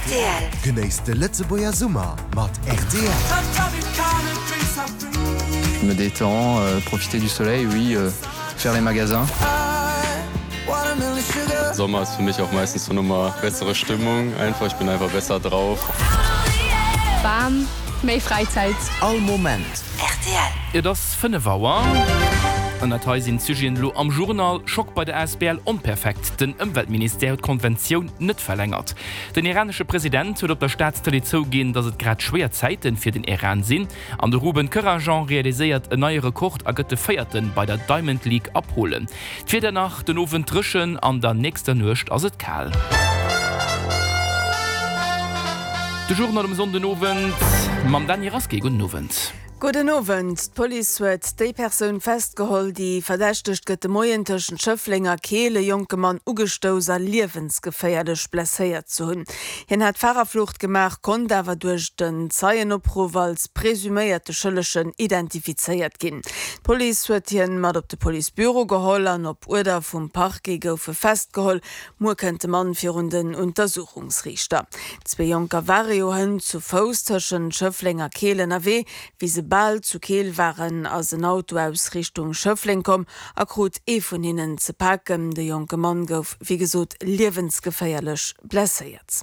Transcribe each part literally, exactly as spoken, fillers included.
Rtl. Genéisst de Lëtzebuerger Summer mat rtl. Je me détends, euh, profiter du soleil, oui, euh, faire les magasins. Sommer ist für mich auch meistens so nochmal bessere Stimmung einfach ich bin einfach besser drauf. Bam, méi Fräizäit. All Moment. Rtl. Et ass fënnef Auer. An dat hei sinn d'Sujeten elo am Journal, Schock bei der Asbl Onperfekt, den Ëmweltministère huet d'Konventioun net verlängert, den iranesche President huet op der Staatstëlee zouginn, datt et grad schwéier Zäite fir den Iran sinn an de Ruben Kerajan realiséiert en neie Rekord a gëtt de Véierte bei der Diamond League a Polen. D'Wieder nach, Den Owend dréchen, an der nächster Nuecht ass et kal. De Journal um Sonndenowend mam Dany Rasqué. Gudden Owend. Gudden Owend. D'Police huet déi Persoun festgeholl, déi verdächtegt gëtt, de Moien tëschent Schëffleng a Keel e jonke Mann ugestouss a liewensgeféierlech blesséiert ze hunn. Hien hat Farerflucht gemaach, konnt awer duerch den Zeienopruff als presuméierte Schëllegen identifizéiert ginn. D'Police huet hien mat op de Policebüro geholl an op Uerder vum Parquet gouf e festgeholl. Muer kënnt de Mann virun den Untersuchungsriichter. Zwee Jonker ware jo hënt zu Fouss tëschent Schëffleng a Keel ënnerwee. Wéi se bal zu Keel waren, ass en Auto aus Richtung Schëffleng komm a krut ee vun hinnen ze paken. De jonke Mann gouf wéi gesot liewensgeféierlech blesséiert.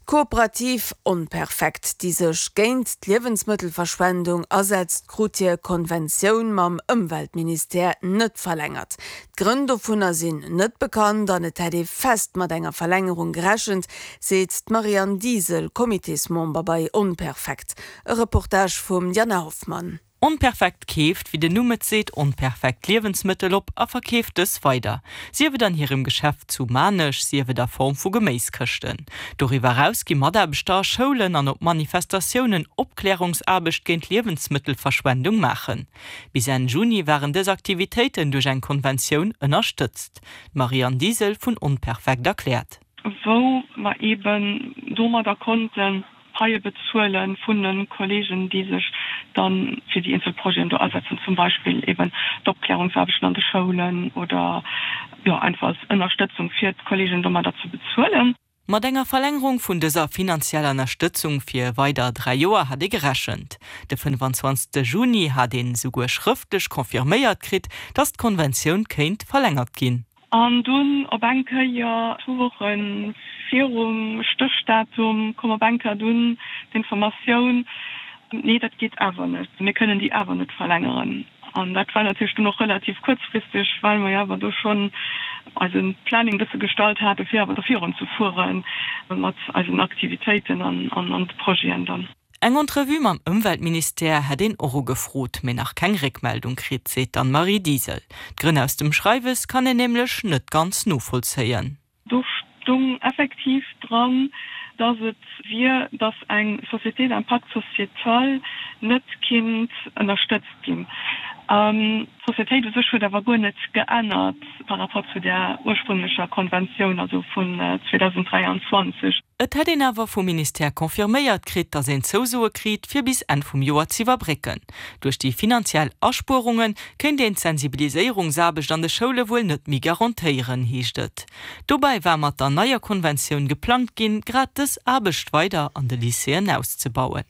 D'Kooperativ Onperfekt, déi sech géint d'Liewensmëttelverschwendung asetzt, krut hir Konventioun mam Ëmweltministère net verlängert. D'Grënn dovunner sinn net bekannt an et hätt ee fest mat enger Verlängerung gerechent, seet d'Marianne Diesel, Comitésmember bei Onperfekt. E Reportage vum Diana Hoffmann. Onperfekt keeft, wéi den Numm et seet, onperfekt Liewensmëttel op a verkeeft dës weider. Sief et an hirem Geschäft zu Maarnech, sief et a Form vu Geméiskëschten. Doriwwer eraus gi Mataarbechter a Schoulen an op Manifestatiounen Opklärungsaarbecht géint Liewensmëttelverschwendung maachen. Bis Enn Juni waren dës Aktivitéiten duerch eng Konventioun ënnerstëtzt. D'Marianne Diesel vun Onperfekt erkläert. Wou mer eeben domadder konnten Paie bezuele vun de Kolleegen, déi sech da fir déi eenzel Projeten do asetzen, zum Beispill eeben d'Opklärungsaarbechten an de Schoulen oder, jo, einfach als Ënnerstëtzung fir d'Kolleegen domadder ze bezuelen. Mat enger Verlängerung vun dëser finanzieller Ënnerstëtzung fir weider dräi Joer hat ee gerechent. De fënnwanzwanzegste Juni hat een esouguer schrëftlech confirméiert kritt, datt d'Konventioun kéint verlängert ginn. An dunn op eng Kéier, zwou Woche virum Stéchdatum, koum op eng Kéier dunn d'Informatioun, Nee, dat geet awer net, mir kënnen déi awer net verlängeren. An dat war natierlech dunn och relativ kuerzfristeg, well mer jo awer do schonn eise Planning e bësse gestallt hate fir awer do virunzefuere mat eisen Aktivitéiten an de Projeten dann. Eng Entrevue mam Ëmweltministère hätt een och ugefrot, mee nach keng Réckmeldung kritt, seet d'Anne-Marie Diesel. D'Grënn aus dem Schreiwes kann een nämlech net ganz novollzéien. Do stung effektiv dran, dass et wier, dass eng Société d'impact sociétal net kinnt ënnerstëtzt ginn. D'Sociétéit u sech huet awer guer net geännert par rapport zu där ursprünglecher Konventioun, also vun zweedausenddräianzwanzeg. Et hätt een awer vum Ministère confirméiert kritt, datt een Zousoe kritt, fir bis Enn vum Joer z'iwwerbrécken. Duerch déi finanziell Aspuerunge kéint een d'Sensibiliséierungsaarbecht an de Schoule wuel net méi garantéieren, heescht et. Dobäi war mat der neier Konventioun geplangt ginn, grad dës Aarbecht weider an de Lycéeën auszebauen.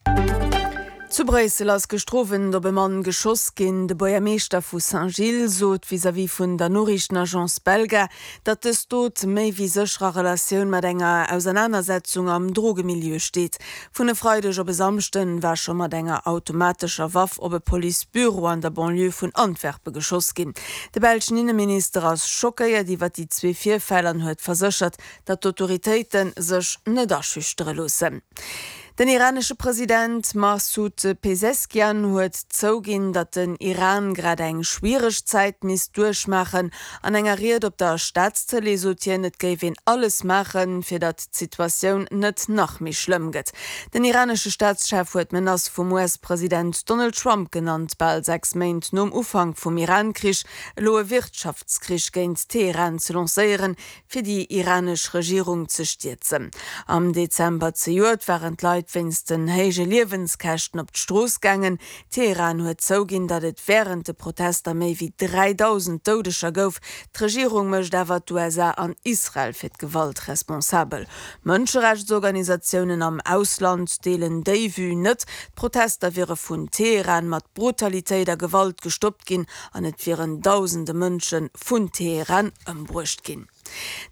Zu Bréissel ass gëschter Owend op e Mann geschoss ginn. De Buergermeeschter vu Saint-Gilles sot vis-à-vis vun der Noriichtenagence Belga, datt dës Dot méi wéi sécher a Relatioun mat enger Ausernanersetzung am Drogemilieu steet. Vun e Freideg op e Samschden war scho mat enger automatescher Waff op e Policebüro an der Banlieue vun Antwerpe geschoss ginn. De belschen Inneminister ass schockéiert iwwer déi zwee Virfäll an huet verséchert, datt d'Autoritéite sech net aschüchtere loossen. Den iranesche President Masoud Peseschkian huet zouginn, datt den Iran grad eng schwiereg Zäit misst duerchmaachen. An enger Ried op der Staatstëlee sot hien, et géif een alles maachen, fir datt d'Situatioun net nach méi schlëmm gëtt. Den iranesche Staatschef huet d'Menace vum U S-President Donald Trump genannt, bal sechs Méint nom Ufank vum Iran-Krich elo e Wirtschaftskrich géint Teheran ze lancéieren, fir déi iranesch Regierung ze stierzen. Am Dezember zejoert waren d'Leit Leit wéinst den héije Liewenskäschten op d'Strooss gaangen. Teheran huet zouginn, datt et wärend de Protester méi wéi dräidausend Doudeger gouf. D'Regierung mécht awer d'USA an Israel fir d'Gewalt responsabel. Mënscherechtsorganisatiounen am Ausland deelen déi Vue net. D'Protester wiere vun Teheran mat Brutalitéit a Gewalt gestoppt ginn an et wieren dausende Mënsche vun Teheran ëmbruecht ginn.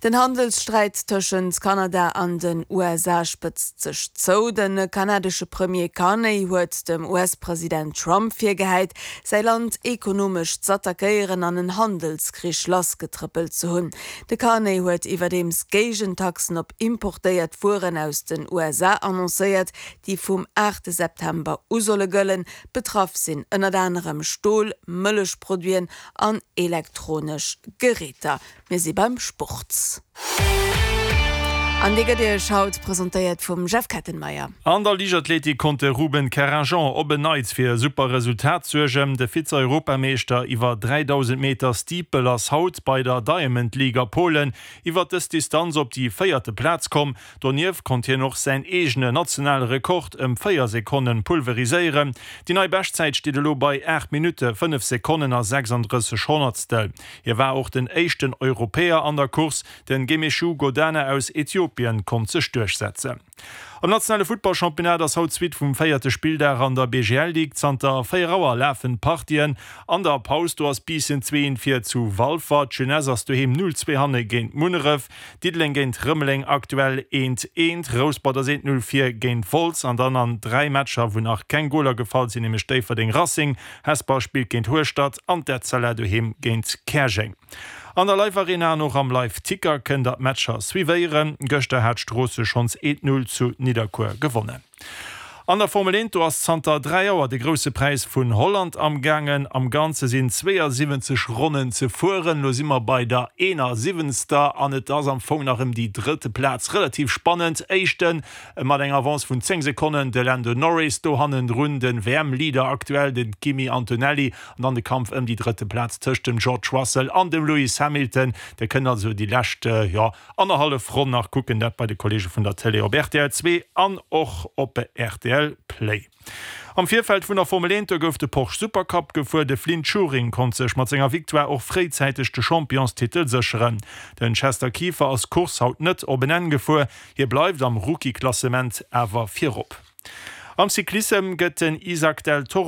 Den Handelssträit tëschent Kanada an den USA spëtzt sech zou. De kanadesche Premier Carney huet dem US-President Trump virgehäit, säi Land ekonomesch z'attackéieren an en Handelskrich lassgetrëppelt ze hunn. De Carney huet iwwerdeems Géigentaxen op importéiert Wueren aus den USA annoncéiert, déi vum aachte September u solle gëllen. Betraff sinn ënnert anerem Stol, Mëllechproduiten an elektronesch Geräter. Mir si beim Sport. An dee gëtt Iech haut presentéiert vum Jeff Kettenmeyer. An der Liichtathletik konnt de Ruben Kerrinjean op en Neits fir e super Resultat suergen. De Vize-Europameeschter iwwer dräidausend Meter Steeple ass haut bei der Diamond League a Polen iwwer dës Distanz op déi véierte Plaz komm. Donieft konnt hien och säin eegene nationale Rekord ëm véier Sekonnen pulveriséieren. Déi nei Beschtzäit steet elo bei aacht Minutte, fënnef Sekonnen a sechsandrësseg Honnertstel. Hie war och den éischten Europäer an der Course. Den Gemechu Godana aus Äthiopien konnt sech duerchsetzen. Am nationale Futtballchampionnat ass haut d'Suite vum véierte Spilldag an der B G L Ligue. Zanter véier Auer lafen d'Partien. An der Paus do ass Biissen zwee eent vir zu Walfer. D'Jeunesse ass doheem null zwee hanne géint Munneref. Diddeleng géint Rëmeleng aktuell eent eent. Rouspert ass eent null vir géint Wolz. An dann an dräi Matcher wou nach keng Goler gefall sinn, nämlech Déifferdeng Racing, Hesper spillt géint Hueschtert an d'Etzella doheem géint Käerjeng. An der Live Arena an och am Live Ticker kënnt der d'Matcher suivéieren. Gëschter hat Stroosseg schonns eent Null zu Nidderkuer gewonnen. An der Formel eent, do ass zanter dräi Auer de Grousse Präis vun Holland am gaangen. Am Ganze sinn zweeënsiwwenzeg Ronnen ze fueren. Lo si mer bei der eenasiwwenzter an et ass am Fong nach ëm déi drëtte Plaz relativ spannend. Éischten mat enger Avance vun zéng Sekonnen de Lando Norris, do hannendrun de W M-Leader aktuell de Kimi Antonelli an dann de Kampf ëm déi drëtte Plaz tëscht dem George Russell an dem Lewis Hamilton. Dir kënnt also déi lescht, jo, annerhallef Ronn nach kucken, dat bei de Kolleege vun der Tëlee op R T L zwee an och op R T L Play. Am Virfeld vun der Formel eent, do gouf de Porsche Supercup gefuer. De Flynt Schuring konnt sech mat senger Victoire och fréizäiteg de Championstitel sécheren. Den Chester Kieffer ass d'Course haut net op en Enn gefuer, hie bleift am Rookie-Klassement awer virop. Am Cyclissem gëtt den Isaac del Toro